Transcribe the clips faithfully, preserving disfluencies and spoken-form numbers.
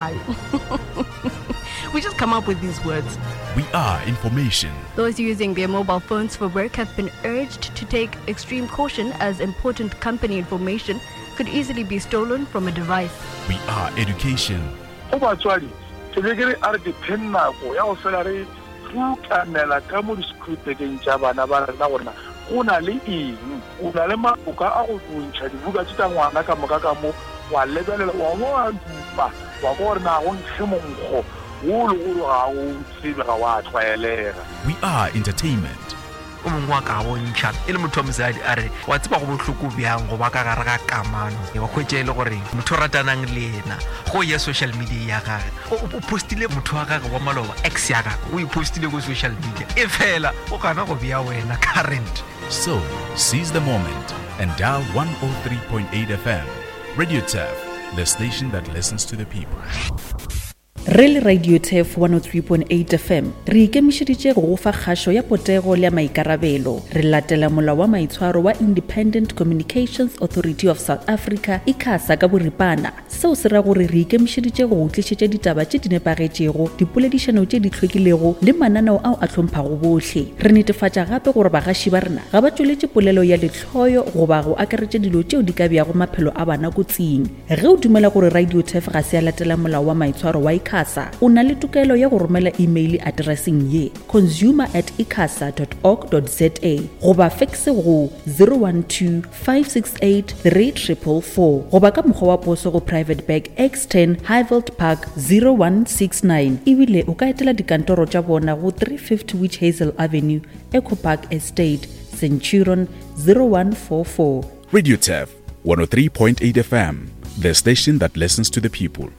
We just come up with these words. We are information. Those using their mobile phones for work have been urged to take extreme caution as important company information could easily be stolen from a device. We are education. Go batswadi, ke be ke re a re dipheng nako ya go fela re rukanela ka mo di-school-bekeng tša bana ba rena gorena go na le eng, o na le maboka a go bontšha dibuka tše tša ngwana ka moka ka mo, wa lebelela wa bo wa dupa wa kwa gore na go nkge monkgo wo le gore ga o tsebe, ga wa tlwaelega. We are entertainment. O mongwe wa ka bontšha e le motho wa mosadi a re wa tseba go bohloko bjang go ba ka gare ga kamano, wa hwetša e le gore motho o ratanang le yena go ya social media ya gage o postile motho wa gage wa maloba, ex ya gage o e postile ko social media, e fela o gana go bea wena current. So seize the moment and dial one oh three point eight F M. Radio Turf, the station that listens to the people. Re le Radio Turf one oh three point eight F M, re ikemišeditše go go fa kgašo ya potego le ya maikarabelo. Re latela molao wa maitshwaro wa Independent Communications Authority of South Africa, ICASA ka boripana. Seo se ra gore re ikemišeditše go go tlišetša ditaba tše di nepagetšego, dipoledišano tše di hlwekilego le mananeo ao a hlomphago bohle. Re netefatša gape gore bagaši ba rena ga ba tšweletše polelo ya lehloyo goba go akaretša dilo tšeo di ka beago maphelo a bana kotsing. Ge o dumela gore Radio Turf ga se ya latela molao wa maitshwaro wa ICASA, o na le tokelo ya go romela email addresseng ye consumer at icasa dot org dot za goba fax go zero one two five six eight three triple four goba ka mokgwa wa poso go Private Bag X ten Highveld Park zero one six nine. Ebile o ka etela dikantoro tša bona go three fifty Witch Hazel Avenue, Echo Park Estate, Centurion zero one four four. Radio Turf one oh three point eight F M, the station that listens to the people.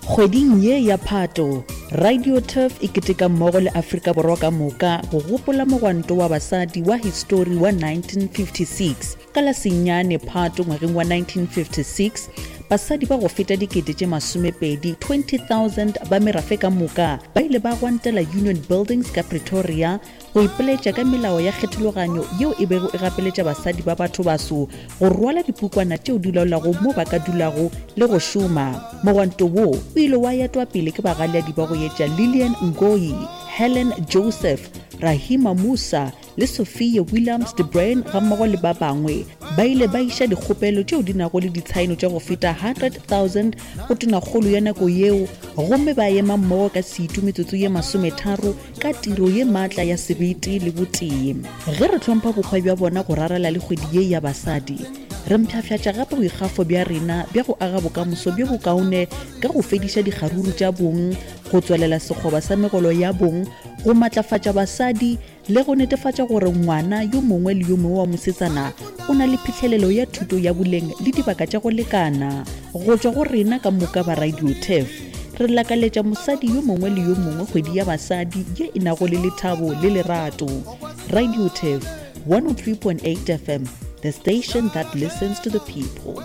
Kgweding ye ya Phato, Radio Turf e keteka mmogo le Afrika Borwa ka moka go gopola mogwanto wa basadi wa histori wa nineteen fifty-six. Ka la senyane Phato ngwageng wa nineteen fifty-six, basadi ba go feta dikete tše masomepedi twenty thousand ba merafe ka moka ba ile ba gwantela Union Buildings ka Pretoria go ipoletša ka melao ya kgethologanyo yeo e bego e gapeletša basadi ba batho baso go rwala dipukwana tšeo di laolago mo ba ka dulago le go šoma. Mogwanto wo o ile wa etwa pele ke bagaleadi ba go etša Lillian Ngoyi, Helen Joseph, Rahima Moosa le Sophia Williams de Bruyn gammogo le ba bangwe. Ba ile ba iša dikgopelo tšeo di nago le ditshaeno tša go feta hundred thousand go tonakgolo ya nako yeo, gomme ba ema mmogo ka setu metsotso ye masometharo ka tiro ye maatla ya sebete le botee. Ge re hlompha bokgwa bja bona go rarela le kgwedi ye ya basadi, re mpshafšatša gape boikgafo bja rena bja go aga bokamoso bjo bokaone ka go fediša dikgaruru tša bong, go tswelela sekgoba sa megolo ya bong, go matlafatša basadi le go netefatša gore ngwana yo mongwe le yo mongwe wa mosetsana o na le phihlelelo ya thuto ya boleng le dibaka tša go lekana. Go tšwa go rena ka moka ba Radio Turf, re lakaletša mosadi yo mongwe le yo mongwe kgwedi ya basadi ye e nago le lethabo le lerato. Radio Turf one oh three point eight F M, the station that listens to the people.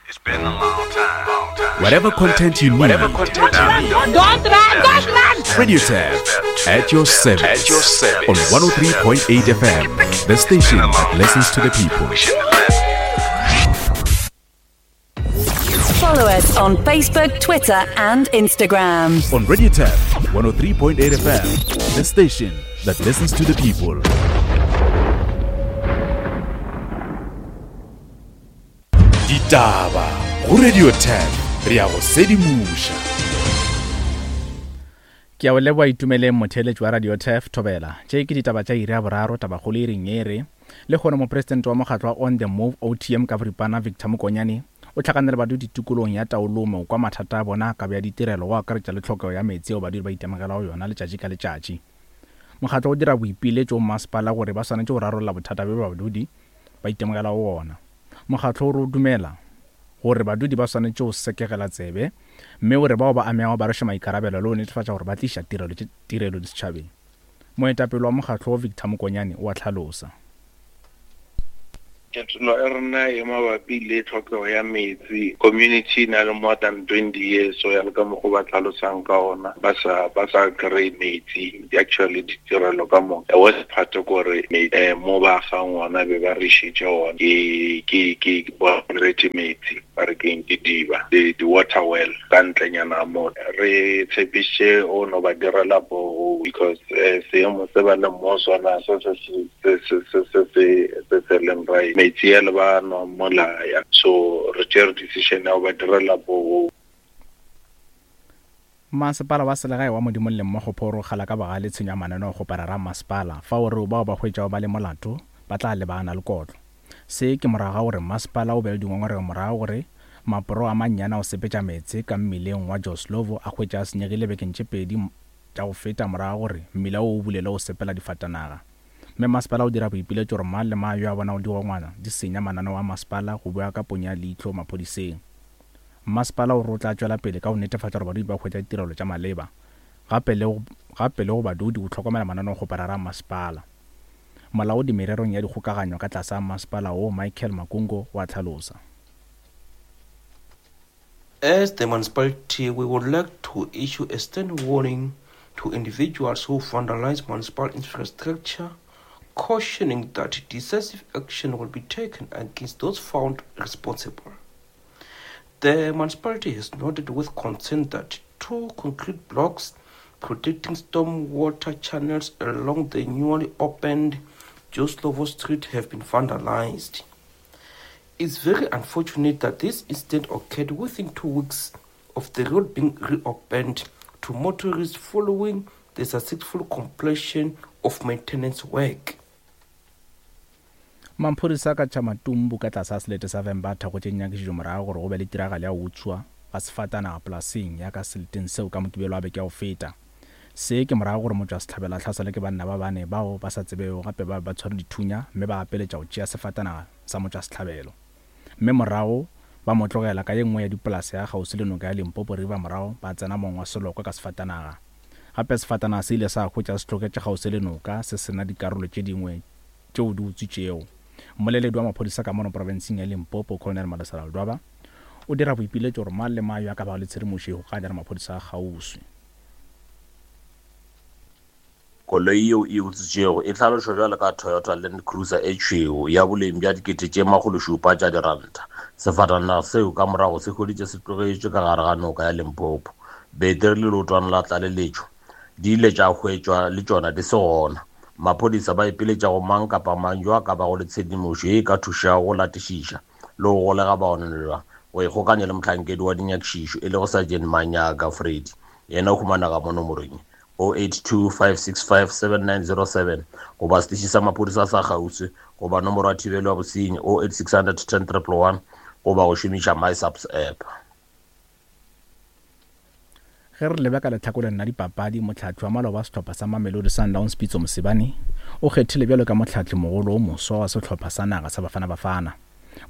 It's been a long time. Long time. Whatever content you need. Whatever content you need. Don't run, don't run. Radio Turf at your service. At your service. On one oh three point eight F M, the station that listens to the people. Follow us on Facebook, Twitter, and Instagram. On Radio Turf one oh three point eight F M, the station that listens to the people. Ditaba go Radio Turf, re ya go sedimoša. Ke a o leboha Itumeleng motheeletši wa Radio Turf Thobela. Tše ke ditaba tša iri ya boraro, tabakgolo e reng e re le kgono mopresidente wa mokgatlo wa On The Move O T M ka boripana Victor Mokonyane o tlhakanela le badudi tikolong ya Taolome kwa mathata a bona ka bja ditirelo go akaretša le tlhokego ya meetse eo badudi ba itemogelago yona letšatši ka letšatši. Mokgatlo o dira boipiletšo masepala gore ba swanetše go rarolla bothata bjo badudi ba itemogelago wona. Mokgatlo o re o dumela gore badudi ba swanetše go sekegela tsebe mme gore bao ba amegago ba rweše maikarabelo le go netefatša gore ba tliša tirelo tirelo setšhabeng. Moetapele wa mokgatlo Victor Mokonyane o a hlalosa. Ketelo ya rena e mabapi le tlhokego ya metsi. Community e na le more than twenty years so ya le ka mokgwa ba tlhalosang ka ona ba sa ba sa kry metsi actually ditirelo ka moka. The worst part ke gore mo ba agang ona be ba re išitše ona ke ke ke ba rete metsi ba re keng ke diba di water well ka ntlenyana mo re tshepiše o no ba direla borehole because seemo se ba leng mo sona se se se se se se se se leng right metsi a le ba nwa molaya so re tšere decision ya go ba direla borehole. Masepala wa selegae wa Modimolle mmogo phoro gala ka bogale tshenyo ya mananeo go parara masepala fao re bao ba hwetšago ba le molato ba tla lebana le kotlo. Se ke morago ga gore masepala o be le dingongorego morago gore maporo a mannyane a go sepetša meetse ka mmileng wa Joe Slovo a hwetša a senyegile bekeng tše pedi tša go feta morago gore mmila wo o bulele go sepela difatanaga. Mme masepala o dira boipiletšo gore mang le mang yo a bonago digongwana di senya mananeo a masepala go bua ka ponyo ya leihlo maphodiseng. Masepala o re o tla tšwela pele ka go netefatša gore badudi ba hwetša ditirelo tša maleba gape le gape le go badudi go hlokomela mananeo go parara masepala. Molaodi mererong ya dikgokaganyo ka tlase ga masepala wo Michael Makungo wa tlhalosa. As the municipality, we would like to issue a stern warning to individuals who vandalize municipal infrastructure, cautioning that decisive action will be taken against those found responsible. The municipality has noted with concern that two concrete blocks protecting stormwater channels along the newly opened Joe Slovo Street have been vandalized. It's very unfortunate that this incident occurred within two weeks of the road being reopened to motorists following the successful completion of maintenance work. Maphodisa ka Tšhamatumbu ka tlase ga selete sa Vhembe go tše nyakišišo morago gore go be le tiragalo ya go utswa ga sefatanaga polaseng ya ka seleteng seo ka Mokibelo wa beke ya go feta. Se ke morago gore motšwasehlabelo a hlaselwe ke banna ba bane bao ba sa tsebego gape ba ba tshwere dithunya mme ba gapeletša go tšea sefatanaga sa motšwasehlabelo. Mme morago ba mo tlogela ka ye nngwe ya dipolase ya kgauswi le noka ya Limpopo River morago ba tsena mong wa selokwa ka sefatanaga. Gape sefatanaga se ile sa hwetša se tlogetše kgauswi le noka se sena dikarolo tše dingwe tšeo di utswitšego. Mmoleledi wa maphodisa ka mono profenseng ya Limpopo Colonel Malesela Ledwaba o dira boipiletšo gore mang le mang yo a ka bago le tshedimošo e kgokaganya le maphodisa a kgauswi. Koloi yeo e utswitšwego e hlalošwa bjalo ka Toyota Land Cruiser e tšhweu ya boleng bja dikete tše makgolo šupa tša diranta. Sefatanaga seo ka morago se hweditše se tlogetšwe ka gare ga noka ya Limpopo. Beteri le leotwana la tlaleletšo di ile tša hwetšwa le tšona di se gona. Maphodisa ba ipiletša go mang kapa mang yo a ka bago le tshedimošo ye e ka thušago go latišiša le go golega bagononelwa go ikgokanya le mohlankedi wa dinyakišišo e lego Sergeant Manyaga Freddy. Yena o humanega mo nomorong oh eight two five six five seven nine zero seven goba setiši sa maphodisa sa kgauswi goba nomoro ya thibelo ya bosenyi oh eight six hundred ten triple one goba go šomiša MySAPS app. Ge re leba ka lehlakoreng la dipapadi, mohlahli wa maloba wa sehlopha sa Mamelodi Sundowns Pitso Mosimane o kgethile bjalo ka mohlahli mogolo o moswa wa sehlopha sa naga sa Bafana Bafana.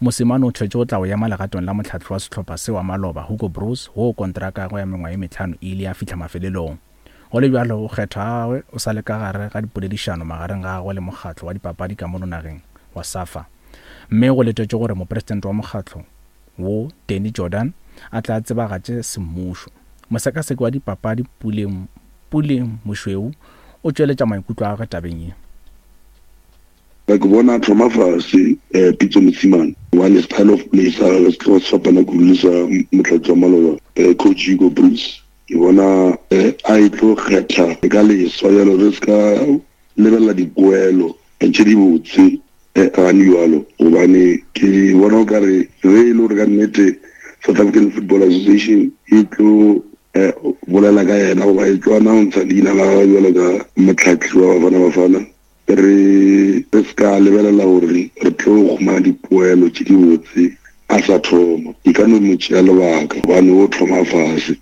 Mosimane o thwetše go tla go ema legatong la mohlahli wa sehlopha seo wa maloba Hugo Broos wo kontraka ya gagwe ya mengwaga ye mehlano e ile ya fihla mafelelong. Go le bjalo, go kgethwa ga gagwe o sa le ka gare ga dipoledišano magareng ga gagwe le mokgatlo wa dipapadi ka mono nageng wa SAFA. Mme go letetšwe gore mopresidente wa mokgatlo wo Danny Jordan a tla tsebagatše semmušo. Mosekaseki wa dipapadi Puleng Puleng Mošweu o tšweletša maikutlo a gagwe tabeng ye. Ke bona thoma fase Pitso Mosimane one style of play sa gagwe se tloga se fapana kudu le sa motlatsi wa maloba coach Hugo Broos. Ke bona a e tlo kgetha ka leswa jalo re se ka lebelela dipoelo tše di botse gane jalo gobane ke bona o kare ge e le gore ka nnete South African Football Association e tlo bolela ka yena goba e tlo announce leina la gagwe jalo ka motlhahli wa Bafana Bafana re re se ka lebelela gore re tlo humana dipoelo tše di botse a sa thoma. E ka no mo tšea lebaka gobane o thoma fase.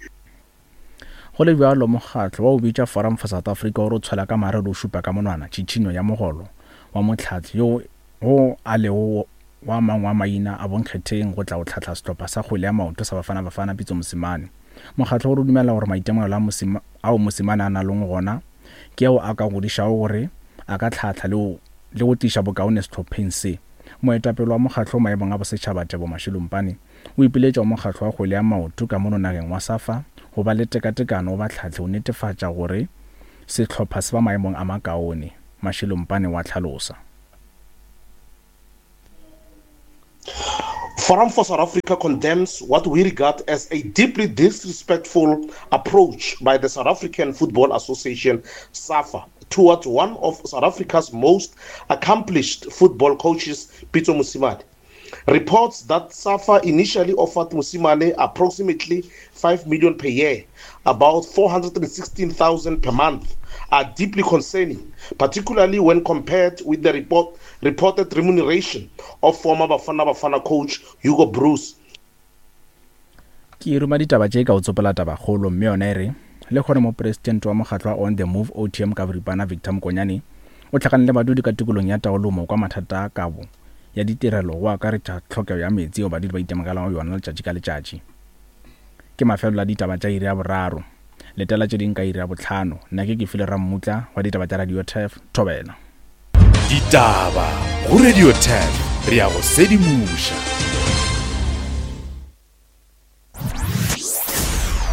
Go le bjalo, mokgatlo wa o bitša Forum for South Africa o re o tshwela ka mare le o šupa ka monwana tšhitšhinyo ya mogolo wa mohlahli yo go a lego wa mangwe a maina a bonkgetheng go tla go hlahla sehlopha sa kgwele ya maoto sa Bafana Bafana Pitso Mosimane. Mokgatlo o re dumela gore maitemogelo ao Mosimane a nang le gona ke ao a ka godišago gore a ka hlahla le go tliša bokaone sehlopheng se. Moetapele wa mokgatlo maemong a bosetšhaba Tebo Mashilumpane o ipiletša go mokgatlo wa kgwele ya maoto ka mono nageng wa SAFA go ba le tekatekano go batlhahli go netefatša gore sehlopha se ba maemong a makaone. Mashilumpane wa hlalosa. Forum for South Africa condemns what we regard as a deeply disrespectful approach by the South African Football Association, SAFA, towards one of South Africa's most accomplished football coaches, Pitso Mosimane. Reports that SAFA initially offered Mosimane approximately five million per year, about four hundred sixteen thousand per month, are deeply concerning, particularly when compared with the report, reported remuneration of former Bafana Bafana coach Hugo Broos. Ke ruma ditaba tše ka o tsopola tabakgolo mme yona e re le gone mopresidente wa mokgatlo wa On The Move O T M ka boripana Victor Mokonyane o tlhakane le badudi ka tikolong ya Taolomo kwa mathata a kabo ya ditirelo go akaretša tlhokego ya metsi yeo badudi ba itemogelang yona letšatši ka letšatši. Ke mafelelo a ditaba tša iri ya boraro. Letela tše ding ka iri ya bohlano. Nna ke Kefile Rammutla wa ditaba tša Radio Turf Thobela. Ditaba go Radio Turf re ya go sedimoša.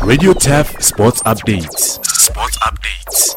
Radio Turf Sports Updates. Sports Updates.